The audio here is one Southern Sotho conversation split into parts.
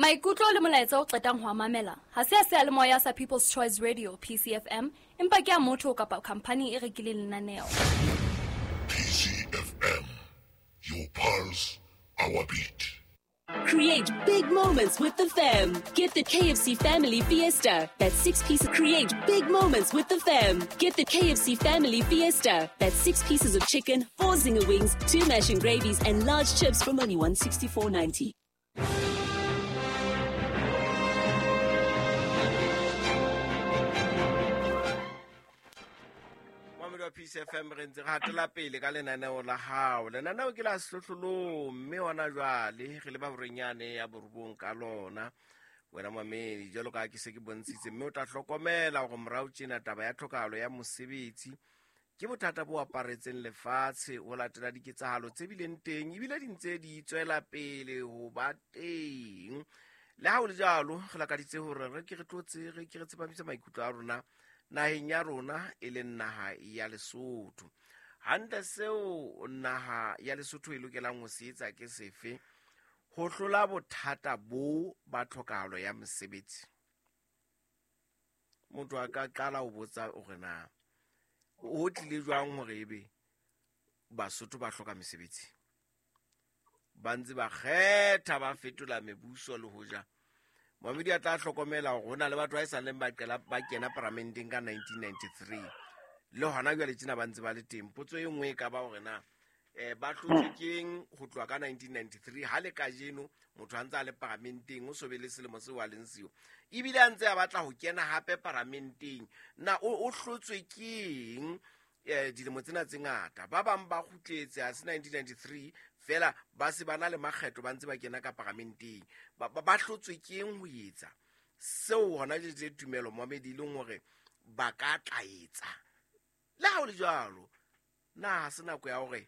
Maikutlo le molaetsa o qetang ho a mamela ha se a seyalemoya sa People's Choice Radio PCFM empa ke a motho kapa khampani e rekileng lenaneo. PCFM, your pulse, our beat. Create big moments with the fam. Get the KFC Family Fiesta. That's 6 pieces. Create big moments with the fam. Get the KFC Family Fiesta. That's 6 pieces of chicken, 4 zinger wings, 2 mash and gravies, and large chips from only $164.90. Moamedi wa Peace FM, re ntse re hatela pele ka lenaneo la hao. Lenaneo ke la sehlohlolong, mme hona jwale re leba borenyane ya borobong ka lona. Wena moamedi, jwalo ka ha ke se ke bontshitse, mme o tla hlokomela hore morao tjena taba ya tlhokahalo ya mosebetsi ke bothata bo aparetseng lefatshe ho latela diketsahalo tse bileng teng ebile di ntse di tswela pele ho ba teng. Le ha ho le jwalo, re lakaditse hore re ke re tlotse, re ke re tsepamise maikutlo a rona naheng ya rona e leng naha ya Lesotho. Hantle seo naha ya Lesotho e lokelang ho se etsa ke sefe ho hlola bothata bo ba tlhokahalo ya mosebetsi? Motho a ka qala ho botsa hore na ho tlile jwang hore ebe Basotho ba hloka mesebetsi, ba ntse ba kgetha ba fetola mebuso. Le hoja moamedi a tla hlokomela hore ho na le batho ba e sa leng ba qela ba kena paramenteng ka 1993 le hona jwale tjena ba ntse ba le teng. Potso e nngwe e ka ba hore na ba hlotswe keng ho tloha ka 1993 ha le kajeno motho a ntse a le paramenteng, o so be le selemo seo a leng seo, ebile a ntse a batla ho kena hape paramenteng. Na o hlotswe keng dilemo tsena tse ngata? Ba bang ba kgutletse ha se 1993 fela, ba se ba na le makgetho ba ntse ba kena ka paramenteng. Ba hlotswe keng ho etsa seo hona jwale tumelo moamedi e leng hore ba ka tla etsa? Le ha ho le jwalo, na ha se nako ya hore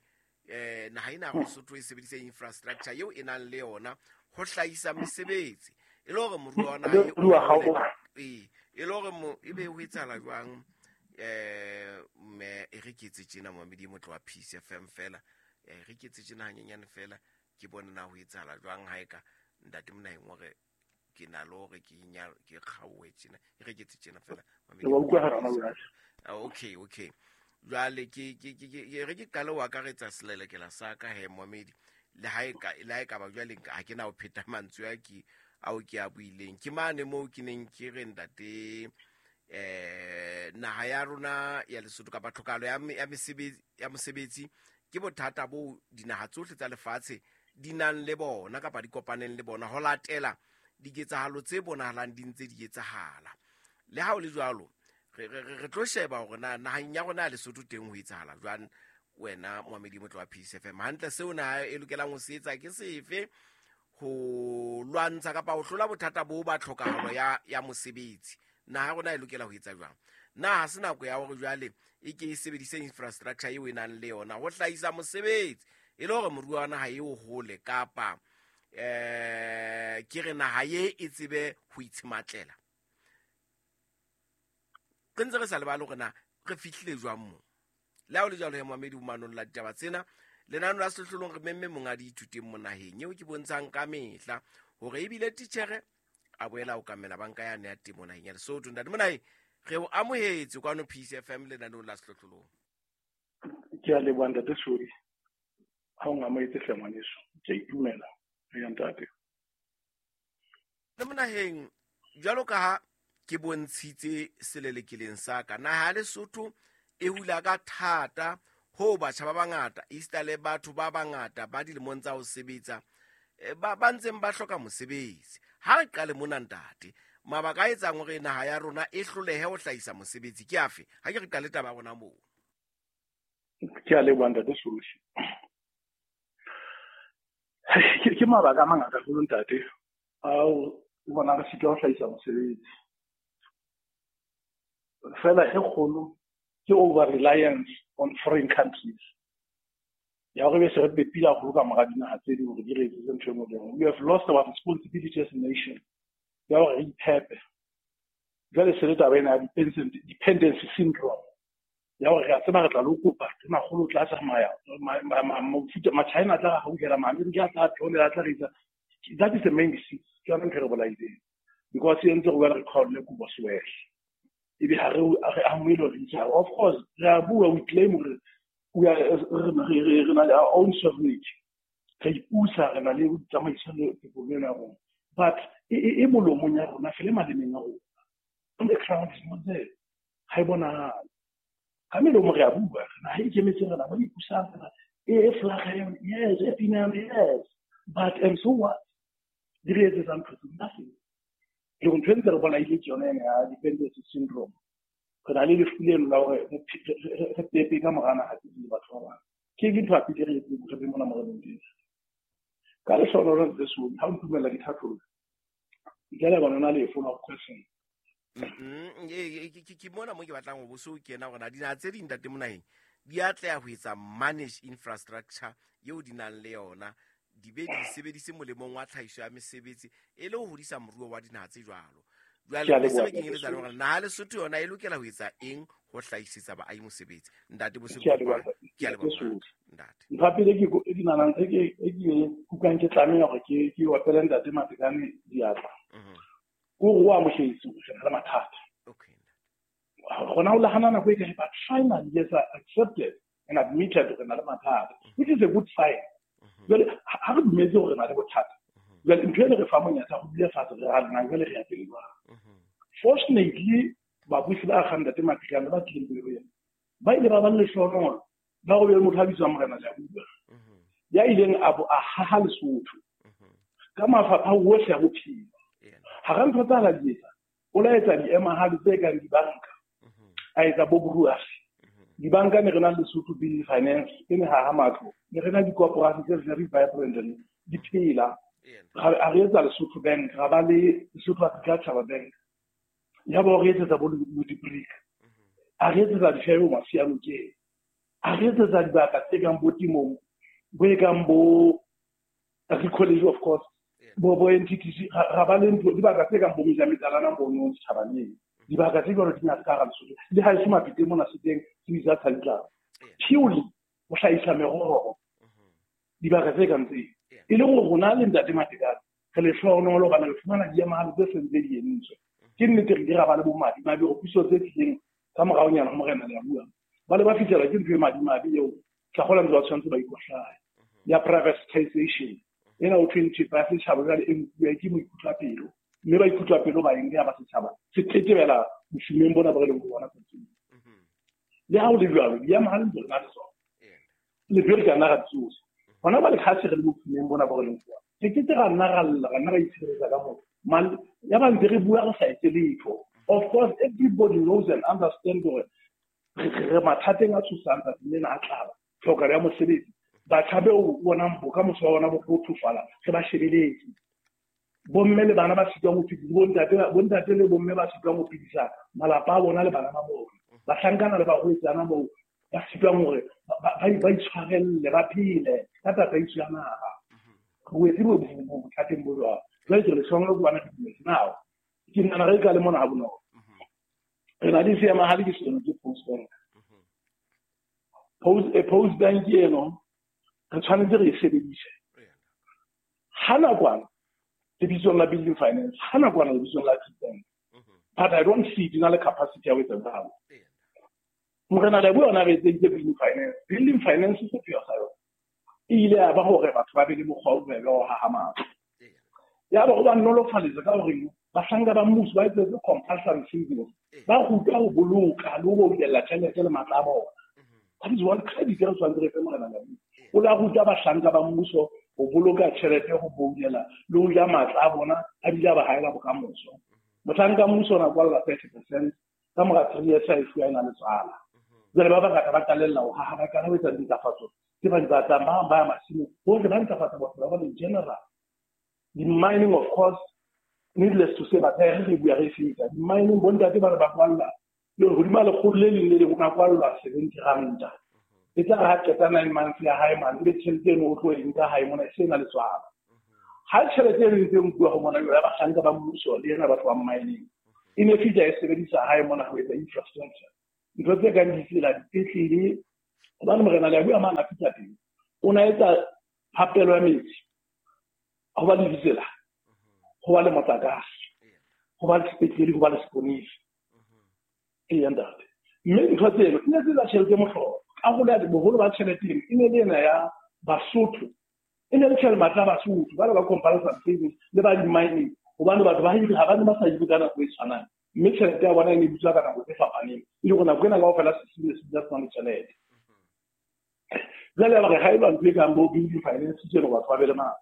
naha ena ya Lesotho e sebedise infrastructure eo e nang le yona ho hlahisa mesebetsi, e le hore moruo wa naha e Moruo wa hole? hao. Ee, e le hore e be ho etsahala jwang? Mme e re ke etse tjena moamedi e motle wa Peace FM fela, re ke etse tjena hanyenyane fela, ke bone na ho etsahala jwang ha e ka ntate Monaheng hore ke na le hore ke ke kgaohe tjena. E re ke etse tjena fela, moamedi Ke wa e utlwa motle wa hara Peace mabaka. FM. Okay, okay. Jwale ke re ke qale ho akaretsa selelekela sa ka he moamedi, le ha e ka, le ha e ka ba jwale nka, ha ke na ho pheta mantswe a ke, ao ke a buileng. Ke mane moo ke neng ke re ntate, naha ya rona ya Lesotho kapa tlhokahalo ya ya mesebetsi, ya mosebetsi ke bothata bo dinaha tsohle tsa lefatshe di nang le bona kapa di kopaneng le bona ho latela diketsahalo tse bonahalang di ntse di etsahala. Le ha ho le jwalo, re tlo sheba hore na naheng ya rona ya Lesotho teng ho etsahala jwang. Wena moamedi motle wa Peace FM, hantle seo naha e lokelang ho se etsa ke sefe ho lwantsha kapa ho hlola bothata bo ba tlhokahalo ya mosebetsi? Naha ya rona e lokela ho etsa jwang? Na ha se nako ya hore jwale e ke e sebedise infrastructure eo e nang le yona ho hlahisa mosebetsi, e le hore moruo wa naha eo hole, kapa ke re naha ye e tsebe ho itshematlela? Re ntse re sa lebale hore na re fihlile jwang moo. Le ha ho le jwalo he moamedi o manong la ditaba tsena, lenano la sehlohlolong re memme monga diithuteng mo naheng eo ke bontshang ka mehla hore ebile titjhere a boela ho kamela banka yane ya temo naheng ya Lesotho. Ntate Monaheng, re o amohetse kwano Peace FM lenaneong la sehlohlolong. Ke a leboha ntate Sodi, ha o ngamohetse hle ngwaneso, ke a itumela. Eya ntate. Le Monaheng, jwalo ka ha ke bontshitse selelekeleng sa ka, naha ya Lesotho e hula ka thata ho batjha ba bangata, esita le batho ba bangata ba dilemong tsa ho sebetsa, ba ntseng ba hloka mosebetsi. Ha re qale mona ntate, mabaka a etsang hore naha ya rona e hlolehe ho hlahisa mosebetsi ke afe? Ha ke re qale taba ya rona moo. Ke a leboha ntate Soshi. Ke mabaka a mangata haholo ntate, ao o bona re sitwa ho hlahisa mosebetsi. Fela e kgolo ke over reliance on foreign countries. Ya hore be se re pepile haholo ka mora dinaha tse ding hore di re etsetse ntho e nngwe le e nngwe. We have lost our responsibility as a nation ya hore re iphepe. Jwale se le taba ena ya dependency syndrome ya hore re a tseba re tla lo kopa tonakgolo o tla tsamaya, Machina a tla re hauhela, Maamerika a tla theolela, a tla re etsa. That is the main disease. Ke yona ntho e re bolaileng. Because e entse gore re kgaolele kobo sewele. Ebe ha re amohele hore re. Of course, re a bua, we claim hore we are re na le our own sovereignty. Re ipusa, re na le tsamaiso le tokoloho ena ya rona. But e molomong ya rona, fela e malemeng a rona. On the ground is not there. Ha e bonahale. Ka melomo re a bua, naha e ikemetseng, re na ba ipusang, e flag yes, e pina yes. But and so what? Di re etsetsang ntho tse nothing. Le ntho e ntse re bolaile ke yona ena ya dependency syndrome. Re na le lefu leno la hore re pepe ka mora naha tse ding le batho ba bang. Ke ntho ya pele re etseng re be mona mo re leng teng. Ka lehlohonolo le Soli, ha o ntumella ke thatholla. Ntle le bona na le follow up question. Ke mona mo ke batlang ho boso kena hore na dinaha tse ding ntate Monaheng di atleha ho etsa manage infrastructure eo di nang le yona, di be di sebedise molemong wa tlhahiso ya mesebetsi e le ho hodisa moruo wa dinaha tse jwalo. Jwale se be kenyeletsa le hore naha Lesotho yona e lokela ho etsa eng ho hlahisetsa baahi mosebetsi. Ntate Bosolo, Ke a leboha, ke a leboha ntate. Ntho ya pele ke ke nahanang e ke kutlwang ke tlameha hore ke opele ntate Matekane diatla. Ke hore o amohetse hore re na le mathata. Okay. Rona o lahana nako e kae, but finally yes, accepted and admitted hore re na le mathata, which is a good sign. Jwale ha re dumetse hore re na le bothata, jwale ntho e le re fa monyetla ho dula fatshe re ra jwale re ya pele jwang. Fortunately, babusi ba akgang ntate Matekane ba tlileng pele ho yena, ba ile ba ba le lehlohonolo la hore be motho a bitswang Morena Leabua, ya ileng a bo a haha Lesotho ka mafapha ohle a bophelo. Hara ntho tsa la di etsa, o la etsa diemahale tse kang dibanka, a etsa bo brewery. Dibanka ne re na le Lesotho Building Finance, e ne haha matlo, ne re na dikoporasi tse very vibrant di phela. A re etsa Lesotho Bank, ra ba le Lesotho Agricultural Bank. Ya ba re etsetsa bo Modibrick. A re etsetsa difebo Masianokeng. A re etsetsa dibaka tse kang bo temong, bo e kang bo Agri College of course, bo NTTC, ra ba le ntho dibaka tse kang bo Mejametalana mono setjhabaneng. Dibaka tse jwalo di ngata ka hara Lesotho. Le ha eso Mapiteng mona se teng, se bitsa Tshaditlao. Purely ho hlahisa meroho. Dibaka tse kang tseo. E le hore rona le ntate Matekane re lehlohonolo hobane re fumana diemahale tse seng tse di entswe. Ke nnete re ile ra ba le bomadimabe hore puso tse tlileng ka moraonyana ho Morena Leabua, ba le ba fihlela ke ntho e madimabe eo tla kgola ntse ba tshwanetse ba ikwahlaye. Ya privatization ena ho thweng thepa ya setjhaba jwale e nkuwe ke moikutlwapelo, mme ba ikutlwapelo ba eng ya ba setjhaba se tetebela bofumeng bona bo re leng ho bona tsatsing. Le ha ho le jwalo, diemahale ntse re na le tsona. Le be re ka nna ra tsosa. Hona jwale ha se re le bofumeng bona bo re leng ho bona, re ke ke ra nna ra lla, ra nna ra itshireletsa ka moo. Ya ba ntse re bua re sa etse letho. Of course, everybody knows and understands hore re mathateng a tshosang tsatsing lena a tlala, tlhokahalo ya mosebetsi. Batjha beo o bonang bokamoso ba bona bo bothofala, re ba shebeletse. Bomme le bana ba sitwang ho phedisa, bontate le bomme ba sitwang ho phedisa malapa a bona le bana ba bona. Bahlankana le barwetsana moo ba sitwang hore ba itshwarelle, ba phele ka tataiso ya naha. Re wetse bothateng bo jwalo. Jwale ke re lehlohonolo ke bona re dumetse. Now, ke nahana re ka le mona ha bonolo. Re na le seemahale ke seno ke Post Bank. Post Bank eno re tshwanetse re e sebedise. Ha nakwana lebitsong la Building Finance, ha nakwana lebitsong la Agri Bank. But I don't see it na le capacity ya ho etsa jwalo. Morena Leabua ona re etseditse Building Finance. Building Finance sepheo sa yona e ile ya ba hore batho ba be le mokgwa o bobebe wa ho haha matlo. Ya ba ho ba nolofaletsa ka hore bahlanka ba mmuso ba etsetse compulsory savings, ba rutwa ho boloka le ho boulella tjhelete le matla a bona. That is one credit re tshwanetse re fe Morena Leabua. O la ruta bahlanka ba mmuso ho boloka tjhelete, ho boulela le ho ja matla a bona, a bile a ba haela bokamoso. Mohlanka wa mmuso o na kwalla 30% ka mora 3 years a e fuwa e na le tswala. Jwale ba bangata ba qalella ho haha, ba qala ho etsa dintlafatso tse ba di batlang, ba bang ba ya masimong, bohle ba ntlafatsa bophelo ba bona in general. Di-mining of course, needless to say, batho re bua re feta. Di-mining bontate ba re ba kwalla le hodima lekgolo le leng le leng o ka kwallwa 70 ranta. E tla re ha qeta 9 months ya hae mane, ebe tjhelete eno o tlo e nka hae mona e se na le tswala. Ha tjhelete eno e ntse e nkuwa ho mona jwale ya bahlanka ba mmuso le ena batho ba mining, e ne fihla e sebedisa hae mona ho etsa infrastructure. Ntho tse kang ditsela, dipetlele, hobane Morena Leabua mane a fihla teng, o na etsa phapelo ya metsi. Ho ba le ditsela, ho ba le motlakase, ho ba le sepetlele, ho ba le seponisi. Eya ntate. Mme ntho tseno e ne se tsa tjhelete mohlolo. Karolo ya boholo ba tjhelete eno e ne le ena ya Basotho. E ne le tjhelete matla a Basotho, ba le ba compulsory savings le ba di-mining. Hobane batho ba hire ha ba ne ba sa hire ka nako e tshwanang. Mme tjhelete ya bona e ne e butswa ka nako tse fapaneng. E le hore nako ena kaofela se se se se le tjhelete. Jwale ya ba re ha eba ntho e kang bo building finance tjena batho ba be le matla.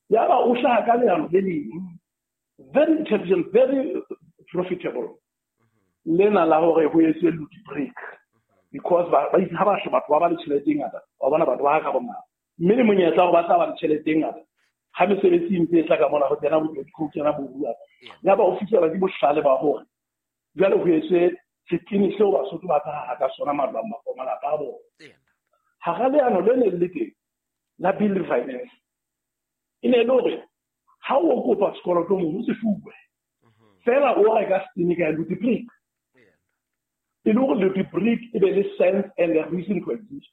Ya ba o hlaha ka leano le leng, very intelligent, very profitable. Lena la hore ho etswe loot break. Because ba itse ha ba batho ba ba le tjhelete e ngata, wa bona batho ba ka bongata. Mme le monyetla hore ba tla ba le tjhelete e ngata. Ha mesebetsi e ntse e tla ka mona ho kena bo ho kena bo bua. Ya ba o fihlela ke bohlale ba hore jwale ho etswe setini seo Basotho ba tla ka sona matlo a malapa a bona. Hara leano le ne le teng la building finance e ne le hore ha o kopa sekoloto mono se fuwe fela o reka setini ka loot brick, e le hore loot brick e be le sense and a reason to exist.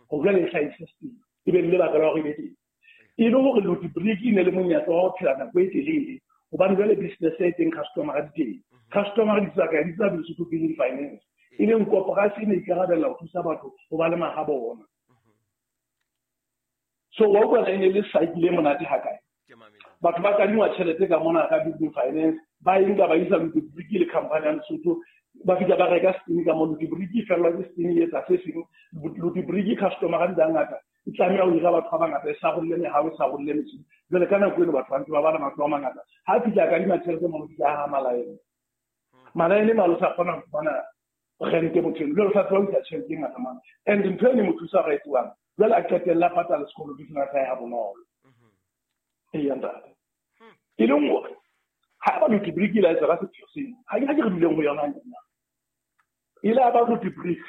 Ho jwale e hlahise setini e be le lebaka la hore e be teng. E le hore loot brick e ne le monyetla wa ho phela nako e telele, hobane jwale business e teng, customer di teng. Customer di tswa kae? Di tswa Lesotho Building Finance. E leng koporasi e ne ikarabella ho thusa batho ho ba le maha bona. So wa utlwa e ne le cycle e monate hakae. Batho ba kadingwa tjhelete ka mona ka building finance, ba e nka ba isa loot brick le company ya Lesotho, ba fihla ba reka setini ka mo loot brick e fellwa ke setini e etsa se seng. Loot brick customer di ngata e tlameha ho hira batho ba bangata, e sarolle mehao, e sarolle metjhini. Jwale ka nako eno batho ba ntse ba bala matlo a mangata. Ha fihla kadima tjhelete mo fihla ha malaene. Malaene malo sa kgona ho fumana rente motho eno. Jwale o sa tseba ho isa tjhelete e ngata mane. And ntho eno e mo thusa hore e tsebang. Jwale a qetella patala sekoloto sena sa hae ha bonolo. Eya ntate. E leng hore ha ba loot brick ile a etsa ka sepheo seno, ha ke re duleng ho yona nna. Ile a ba loot brick.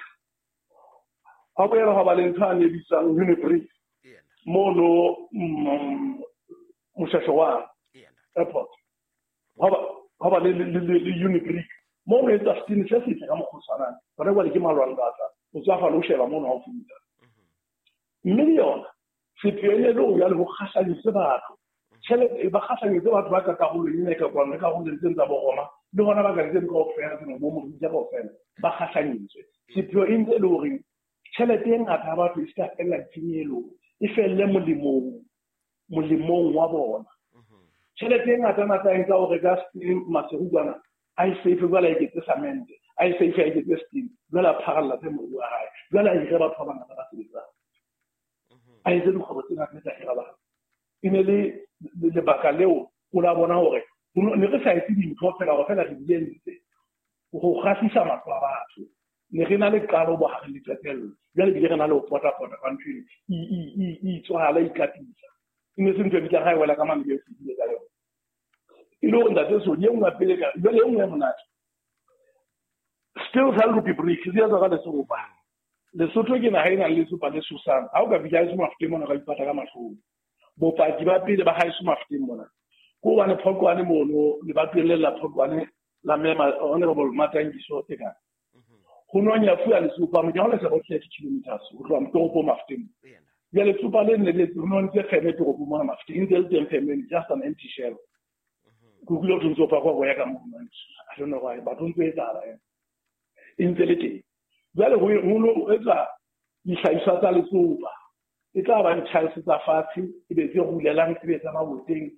Ha boela ha ba le ntho a ne bitswang Unibrick mono Moshasho wa airport. Ha ba le Unibrick mo re etsa setini se setle ka mokgwa o tshwanang. Hona jwale ke malwandata, o tswa fa le ho sheba mono ha o fihla. Mme le yona sepheo e ne le hore jwale ho kgahlanyetse batho. Tjhelete ba kgahlanyetse batho ba ka karolong ena e ka kwano, le karolong tseno tsa Boroma, le hona ba ka tseno kaofela tseno bo Morija kaofela, ba kgahlanyetswe. Sepheo e ntse e le hore tjhelete e ngata ya batho e se ka fella ditshenyehelo, e felle molemong wa bona. Tjhelete e ngata ngata e nka ho reka Maseru kwana, a e save jwale a eketse cement, a e save a eketse steam, jwale a pharalla tse moruo wa hae, jwale a hire batho ba bangata ba sebetsang. A etse dikgwebo tse ngata tsa hira batho. E ne le lebaka leo o la bona hore ne re sa etse dintho fela hore fela re di entse ho kgahlisa matlo a batho. Ne re na le qalo bohareng le qetello. Jwale ebile re na le ho pota-pota ka ntho eno. E itswala, e ikatisa. E ne se ntho e bitsang ha e wela ka mane e fetile ka yona. E le hore ntate Sodi, e nngwe ya pele ka, jwale e nngwe e monate. Still sa loot brick, se etswa ka letsopa. Lesotho ke naha e nang le letsopa le sosang. Ha o ka fihla haeso Mafeteng mona, o ka ipata ka mahlong. Bopaki ba pele ba haeso Mafeteng mona, ke hobane Phokwane mono, lebatoweng le la Phokwane la Mema Honorable Matangiso Tekane. Ho nwa nyafuwa letsopa, mo ke hole se about 30 kilometers ho tloha toropong Mafeteng. Jwale letsopa le ne le ho ntse feme toropong mona Mafeteng, e ntse le teng feme, just an empty shell. Ke utlwile ho thwe ntse o pakwa boya ka mono. I don't know why, but ho ntse etsahala ena. E ntse le teng. Jwale ho no etsa dihlahiswa tsa letsopa. E tla ba di-tiles tsa fatshe, e be tse rulelang, e be tsa maboteng.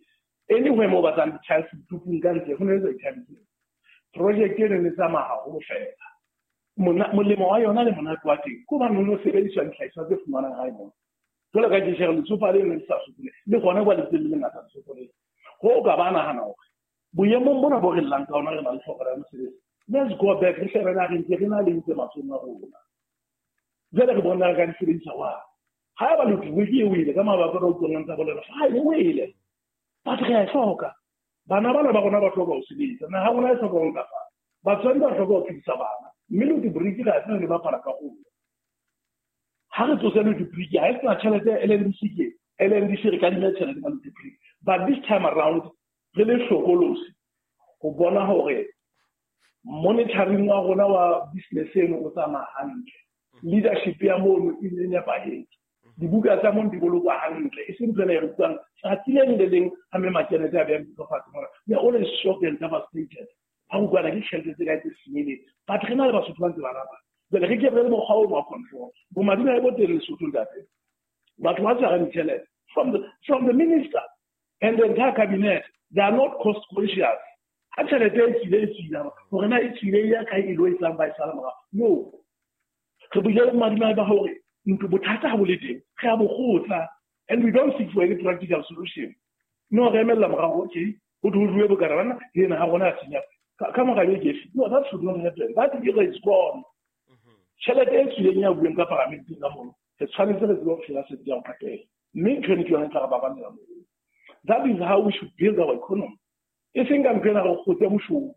Anywhere mo batlang di-tiles ditupung ka ntle, ho no etsa di-tiles. Project eno ne tsamaya haholo fela. Molemo wa yona le monate wa teng ke hobane ho no sebediswa dihlahiswa tse fumanang hae mona. Jwalo ka ke share letsopa leno le sa sokole, le hona jwale ntse le lengata letsopa lena. Ho ka ba nahana hore boemong bona bo re llang ka ona re na le tlhoko ya mosebetsi. Let's go back, re shebe na re ntse re na le ntse matsohong a rona. Jwale re bona re ka di sebedisa jwang. Ha eba loot brick e wele ka mabaka a utlwang ntse a bolela, fine, e wele. But re a e hloka. Bana bana ba rona ba hloka ho sebetsa. Naha rona e hloka ho ntlafala. Batswadi ba hloka ho phedisa bana. Mme loot brick re a tseba le bapala karolo. Ha re tsose loot brick, ha e sena tjhelete ya LNDC ke LNDC re kadima tjhelete ka loot brick. But this time around, re le hlokolosi ho bona hore monitoring wa rona wa business eno o tsamaya hantle. Leadership ya mono e nepahetse. Dibuka tsa mong di bolokwa hantle, e seng ntho ena e re utlwang tsatsi le leng le leng ha mme Makenete a beha lebitso fatshe mona. We are always shocked and devastated. Ha o utlwana ke tjhelete tse kae tse senyehileng. But re na le Basotho ba ntse ba rata. Jwale re ke re le mokgwa ono wa control. Bomadimabe bo teng Lesotho ntate. Batho ba tshwarang ditjhelete from the minister and the entire cabinet, they are not cost conscious. Ha tjhelete e tswile e tswile, hore na e tswile e ya kae e lo etsang ba e sala morao. No. Re buile le bomadimabe ba hore ntlo bothata ha bo le teng, re a bo kgotla, and we don't seek for any practical solution. No, re emella morao, okay, ho thwe ho jowe bokana bana, le ena ha rona a senya. Ka mora beke efe? No, that should not happen. That era is gone. Tjhelete e tswileng ya bueng ka paramenteng ka mono, re tshwanetse re tsebe ho phela setse ya ho patela. Mme ntho eno ke yona e tla re baballela moo. That is how we should build our economy. E seng ka ntho ena re kgotse boshodu.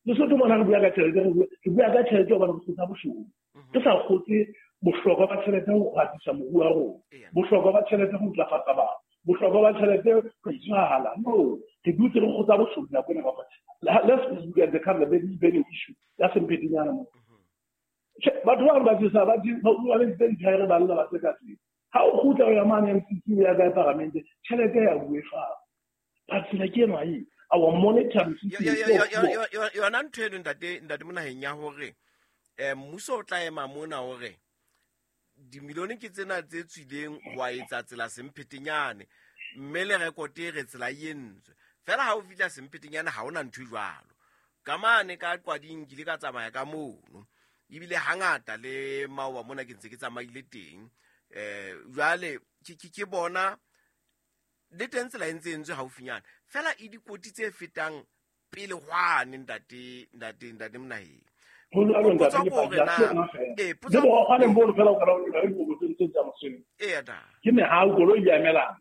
Lesotho mona re bua ka tjhelete, re bua ka tjhelete hobane re kgotsa boshodu. Re sa kgotse bohlokwa ba tjhelete ho atisa moruo wa rona. Bohlokwa ba tjhelete ho ntlafatsa batho. Bohlokwa ba tjhelete ho itshwara. No, re dutse re kgotsa boshodu nako ena kaofela. Let's look at the kind of very burning issue ya Sempetenyana mo. Batho ba ba tsesa ba di ba ba le dithaere ba lla ba se ka tsela. Ha o kgutla o ya mane MCC o ya kae paramente, tjhelete ya bue fa. Ba tsela ke ena e. Our monetary system is so poor. Yona ntho eno ntate Monaheng ya hore, mmuso o tla ema mona hore dimilione ke tsena tse tswileng wa etsa tsela Semphetenyane, mme le rekote e re tsela e entswe. Fela ha o fihla Semphetenyane ha hona ntho e jwalo. Ka mane ka Qwading ke ile ka tsamaya ka mono. Ebile hangata le maoba mona ke ntse ke tsamaile teng. Jwale ke bona le teng tsela e ntse e entswe haufinyana. Fela e dikoti tse fetang pele hwane ntate Monaheng. Ho jwalo, ntate, Potso ke ke hore paki, na ha se yona feela. Potso Le bokgwane bono fela o ka ba o le dikotsi tse tsa mosebetsi. Eya, da. Ke mehau, koloi e emelang.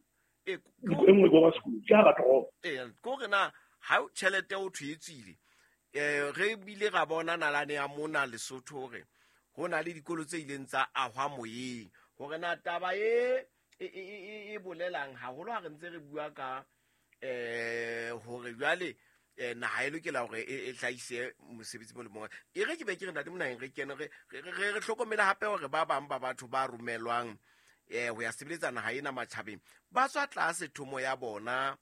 E nngwe ko ba sekolo, ke hara toropo. Eya, ke hore na ha o tjhelete o thwe e tswile, re bile ra bona nalane ya mona Lesotho hore ho na le dikolo tse ileng tsa ahwa moyeng. Hore na taba e bolelang haholo ha re ntse re bua ka, hore jwale, naha e lokela hore e hlahise mosebetsi mo le mong. E re ke be ke re ntate Monaheng re kene re hlokomele hape hore ba bang ba batho ba romelwang, ho ya sebeletsa naha ena matjhabeng ba tswa tlase thomo ya bona.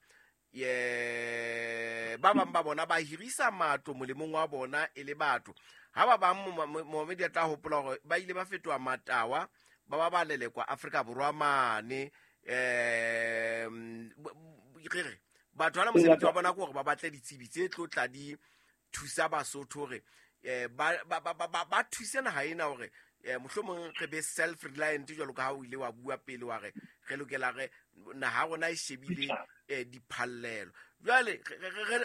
Ba bang ba bona ba hirisa matlo molemong wa bona e le batho. Ha ba bang momamedi a tla hopola hore ba ile ba fetoha matawa, ba ba ba lelekwa Afrika Borwa mane. Re re batho bana mosebetsi wa bona ke hore ba batle ditsebi tse tlo tla di thusa Basotho hore, ba thuse naha ena hore, mohlomong re be self-reliant jwalo ka ha o ile wa bua pele wa re, re lokela re naha ya rona e shebile, diphallelo. Jwale,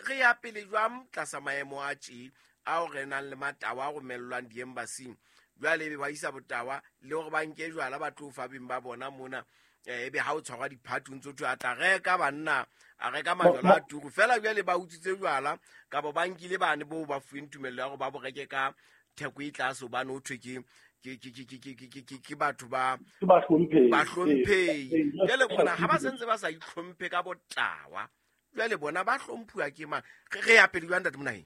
re ya pele jwang tlasa maemo a tje ao re nang le matawa a romellwang di-embassy-ing? Jwale ebe ba isa botawa le hore ba nke jwala ba tlo fa beng ba bona mona, ebe ha o tshwarwa diphathi o ntso thwe a tla reka banna, a reka majwala a turu. Feela jwale ba utswitse jwala, kapa ba nkile bane boo ba fuweng tumello ya hore ba bo reke ka theko e tlase hobane ho thwe ke batho ba Ke bahlomphehi. bahlomphehi. Jwale bona ha ba Ee. sentse ba sa itlhomphe ka botawa, jwale bona ba hlomphuwa ke mang? Re ya pele jwang, ntate Monaheng?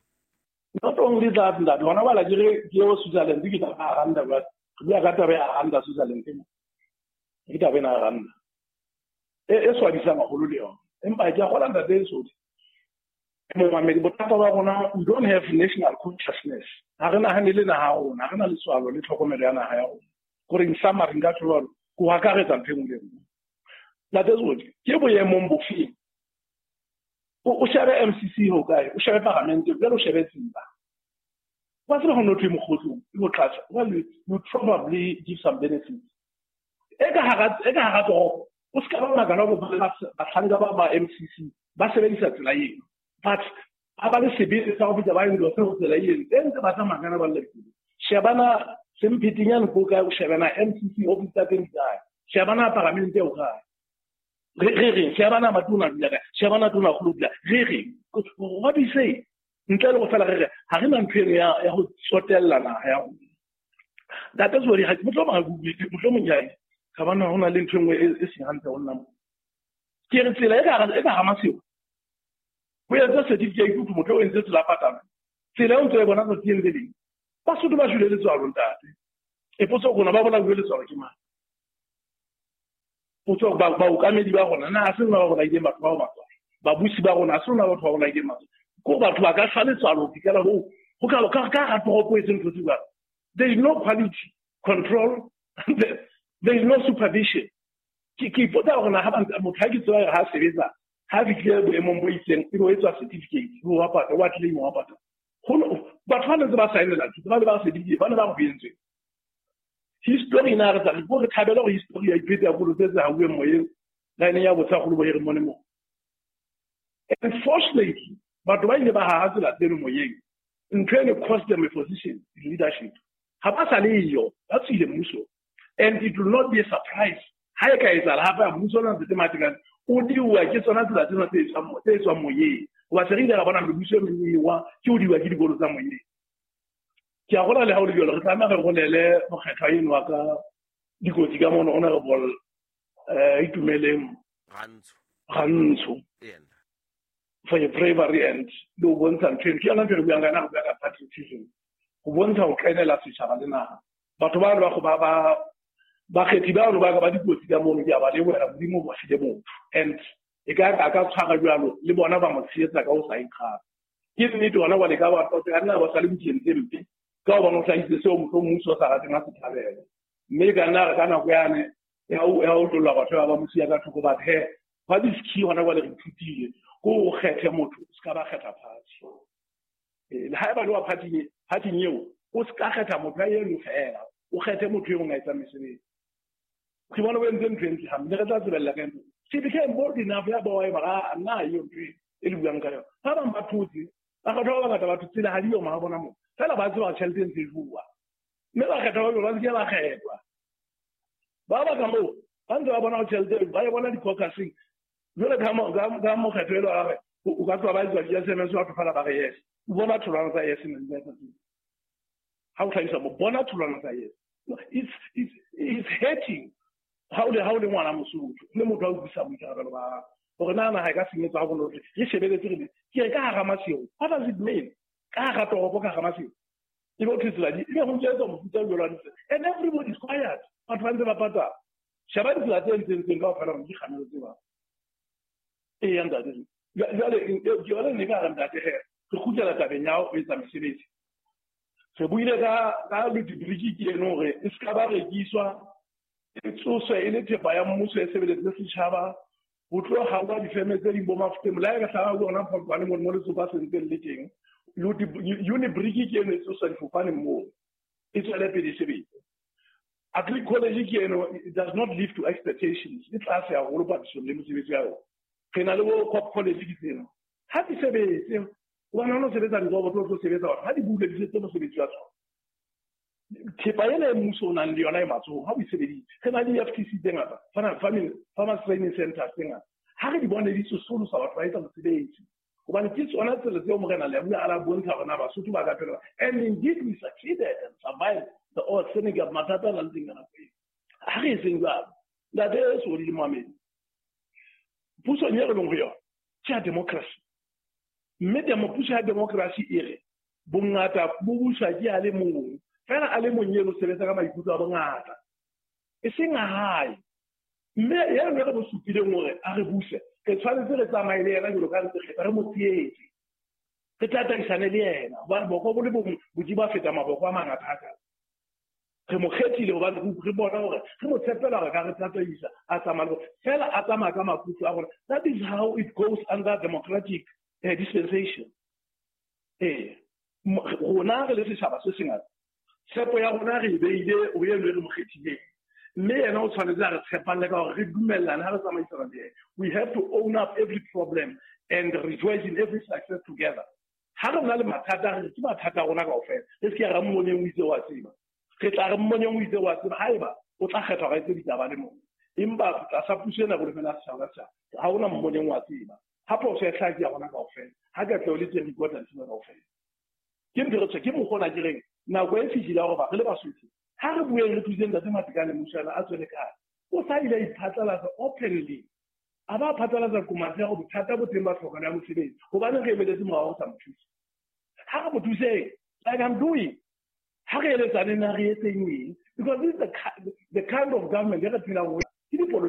Not only that, ntate, hona bala ke re ke eo Switzerland, ke taba ya ranta jwale. Re bua ka taba ya ranta Switzerland ena. Ke taba ena ya ranta. E swabisang haholo le yona. Empa ke a kgolwa ntate e Sodi. Momamedi, bothata ba rona, we don't have national consciousness. Ha re nahane le naha ya rona, ha re na letswalo le tlhokomelo ya naha ya rona. Kore in summary nka tjho jwalo, ke ho akaretsa ntho e nngwe le e nngwe. Ntate Sodi, ke boemong bofeng? O shebe MCC ho kae? O shebe paramente, jwale o shebe tsela. Wa tseba ho no thwe mokgotlong, e ho tlatsa. Well, you probably give some benefits. E ka hara, e ka hara toropo, o ska ba makala hore bahlanka ba ba MCC ba sebedisa tsela eno. But ba ba le sebete sa ho fihla ba endorse ho tsela eno. E ntse ba tsamaya kana ba le pele. Shebana Semphetenyane ko kae, o shebana MCC office tsa teng di kae. Shebana paramente o kae. Re re, shebana matona dula kae. Shebana tona kgolo dula. Re re, what do you say? Ntle le go fela re re, ha re na ntho eno ya ho tsotella naha ya rona. Ntate Zweli, ha ke mohlomong ha ke utlwe, mohlomong ke a e, ka bona ho na le ntho e nngwe e seng hantle ho nna mo. Ke re tsela e ka hara Maseru, ho entse certificate ho thwe motho o entse tsela ya patala. Tsela eo ntse e bona tsatsi le leng. Basotho ba shwele letswalo, ntate. E potso rona ba bolauwe letswalo ke mang? Potso ba baokamedi ba rona na se rona ba bolaileng batho bao batho babusi ba rona se rona batho ba bolaileng batho ko batho ba ka shwa letswalo ho fihlela ho ho ka ka ka hara toropo e etseng ntho tse jwalo. There is no quality control, there is no supervision. Ke ipotsa hore na ha motho ha ke tseba ha sebetsa ha fihlile boemong bo itseng ebe o etswa certificate ebe wa patala wa claim wa patala. Batho ba ntse ba saenela thuto ba le ba certificate ba ne ba go entswe. History na re tla re re thabela hore history ya iphetsa ya kolo tse tse hauweng moyeng line ya botsa golo bo e re mone mo. Unfortunately, batho ba ile ba haha tsela tseno moyeng ntho eno cost them a position in leadership. Ha ba sa le yo, ba tswile mmuso. And it will not be a surprise ha e ka etsahala hape mmuso ona ntse Matekane o diuwa ke tsona tsela tsena tse tswang moyeng. Hoba se re ile ra bona mebuso e meng e wa ke o diuwa ke dikolo tsa moyeng. Ke a gola le ha o le jwalo, re tlameha re rolele mokgethwa eno wa ka dikotsi ka mono Honorable Itumeleng Rantsho for your bravery and le ho bontsha ntho eno. Ke yona ntho e re buang ka yona, re bua ka patriotism. Ho bontsha ho kenela setjhaba le naha. Batho ba ba bakgethi bano ba ka ba dikotsi ka mono, ke a ba lebohela Modimo o ba file motho. And e ka ka tshwara jwalo le bona ba mo tshehetsa ka ho sa ikgape. Ke nnete hona jwale ka ba tota ka nna ba sa le bukeng tse mpe ka hobane o hlahisitse seo mohlomong mmuso o sa rateng a se thabele. Mme ka nna re ka nako yane ya ho tlolla batho ba mo siya ka thoko, but he what is key hona jwale re ithutile ko o kgethe motho o ska ba kgetha party. Le haeba le wa party eo o ska kgetha motho a eno fela, o kgethe motho eo a etsang mesebetsi. Ke bona o entse ntho e ntle hampe, re tla tsebella ka ntho. She became bold enough ya ba wa e ba nna eo ntho e le buang ka yona. Ba bang ba thotse, ba kgetha ba bangata batho tsela ha di yo ma bona mo. Fela ba tseba tjhelete e ntse e bua. Mme ba kgetha ba ba se ke ba kgethwa. Ba ba ka moo, ba ntse ba bona tjhelete ba e bona di-caucusing. Jwale ka mokgetho elo a re o ka tloha ba etswa di-SMS batho fela ba re yes. O bona tholwana tsa yes ha o hlahisa mo bona tholwana tsa yes. It's hurting. Ha o le ngwana Mosotho le motho a utlwisa boikarabelo ba hore na naha e ka senyetswa ha bonolo re shebeletse re ke re ka hara Maseru. What does it mean? Ka hara toropo, ka hara Maseru. Ebe o thetsela di ebe ho ntse mofuta o jwalo wa ditsela. And everybody is quiet. Batho ba ntse ba patala. Sheba ditsela tse entseng kaofela hore di kgamelo tse bang. Eya ntate. Jwale ke yona ne ka re ntate he re kgutlela tabeng ya ho etsa mesebetsi. Re buile ka Ludibriki ke eno hore e ska ba rekiswa e tsoswe e le thepa ya mmuso e sebeletse setjhaba. Ho tlo hawa difeme tse ding bo Mafuteng le ha e ka hlaha ho yona Phokwane mono mo letsopa se ntseng le teng. Unibriki ke eno e tsoswa difofane moo e tswele pele e sebetse. Agri College ke eno, it does not live to expectations, e tlase haholo papisong le mosebetsi ya yona. Re na le bo Cop College ke tsena ha di sebetse hobane ha o no sebetsa diroboto o tlo sebetsa hore ha di bule di setse mosebetsi wa tsona. Thepa ena e mmuso o nang le yona e matsohong ha o e sebeditse. Re na le FTC tse ngata, Farmers Training Centers tse ngata. Ha re di bone di tsosolosa batho ba etsa mosebetsi. Hobane ke tsona tsela tseo Morena Leabua a la bontsha hore na Basotho ba ka phela. And indeed we succeeded and survived the old Senegal mathata a nang teng ka nako eo. Ha re etseng jwalo. Ntate Sodi le Mohamedi, pusong e re leng ho yona ke ya democracy. Mme puso ya democracy e re bongata bo buswa ke a le mong. Fela a le mong eno sebetsa ka maikutlo a bongata. E seng a hae. Mme eno re mo supileng hore a re buse, re tshwanetse re tsamaye le yena jwalo ka ntse kgetha, re mo tsietse. Re tataisane le yena hobane boko bo le bong Modimo a feta maboko a mangata hakalo. Re mo kgethile hobane re bona hore re mo tshepela hore ka re tataisa a tsamaya le fela a tsamaya ka maikutlo a rona. That is how it goes under democratic dispensation. Rona re le setjhaba se sengata, tshepo ya rona re e beile ho eno e re mo kgethileng. Mme yena o tshwanetse a re tshepalle ka hore re dumellane ha re tsamaisana le yena. We have to own up every problem and rejoice in every success together. Ha re na le mathata, re ke mathata a rona kaofela. Re se ke ra mmoneng o itse wa tseba. Re tla re mmoneng o itse wa tseba haeba o tla kgetha hore a etse ditaba le mong. Empa tlasa puso ena bolefela setjhaba ka setjhaba, ha hona mmoneng wa tseba. Ha phoso e hlaha ke ya rona kaofela. Ha katleho le teng re ikotla lefuba kaofela. Ke ntho re ke mokgwa ona ke reng nako e fihlile ya hore re le Basotho ha re bueng re thuseng Ntate Matekane Mmushana a tswele kae. O sa ile a iphatlalatsa openly. A ba phatlalatsa komatsi ya hore bothata bo teng ba tlhokano ya mosebetsi. Hobaneng re emeletse morao ho sa mo thuse? Ha re mo thuseng, like I'm doing. Ha re eletsaneng na re etseng eng? Because this is the kind of government e re phelang ho yona. Ke dipolotiki.